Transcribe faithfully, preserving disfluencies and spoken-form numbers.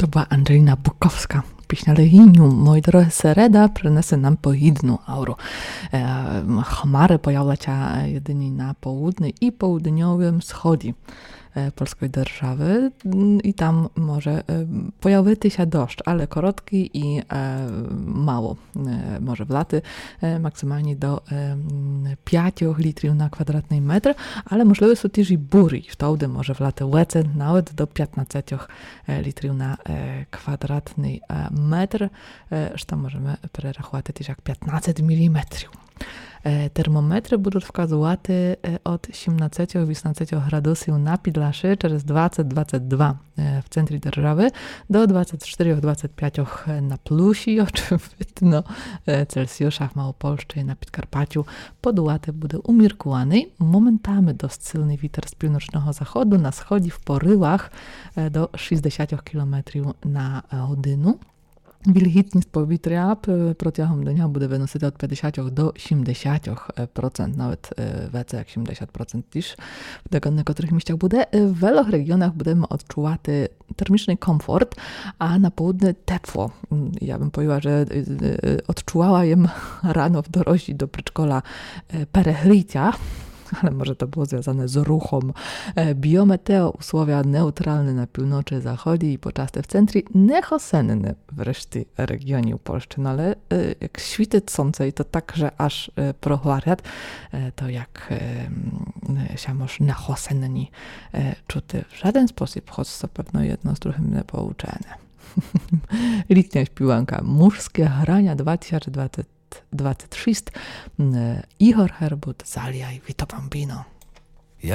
То была Анджеліна Буковска. Пісня Легіню, мої дорогы, середа принесе нам погідну ауру. Е, хмары появлять ся єдині на поудни і поудньовым сході е, польской державы. М, і там може е, появити ся дождж, але короткий і е, мало е, може влати, е, максималні до е, м, пятьох літрів на квадратный метр, але можливы суть тіж і бурі, і втовды може влати леце навет до пятнадцятьох е, літрів на е, квадратный е, метр, е, што можеме перераховати тіж як пятнадцять міліметрів. Е, термометры будуть вказовати е, од сімнадцятьох-вісімнадцятьох градусів на Підляші через двадцять-двадцять два е, в центрі державы до двадцять чотирьох-двадцять пятьох на плюсі, очевидно, е, Цельсіюшах, Малопольщі, на Підкарпатю. Подувати буде уміркуваный, моментами досить сильный вітер з півночного заходу, на сході в поривах е, до шістдесятьох кілометрів на е, годину. Вільгітніст повітря п-, протягом дня буде выносити од пятдесятьох до сімдесятьох процент, навет е, веце як сімдесят процент тіж в декотрых місцях буде. Е, в велох реґіонах будеме одчувати термічный комфорт, а на поудни тепло. М, я бым повіла, же е, е, одчувала єм рано в дорозі до предшкола е, перегрітя, але може то было звязане з рухом. Е, біометеоусловя неутралны на півночы, заході і почасти в центрі, нехосенны в решті реґіонів Польщы. Но але е, як світить сонце і то так, же аж е, прогварят, е, то як е, м, ся мож нехосенні е, чути в жаден спосіб, хоц то певно єдно з другым не поучене. Літня співанка. Мужскі граня два тисячі двадцять двадцять шість. М, е, Ігор Гербут, Залія і Vito Bambino.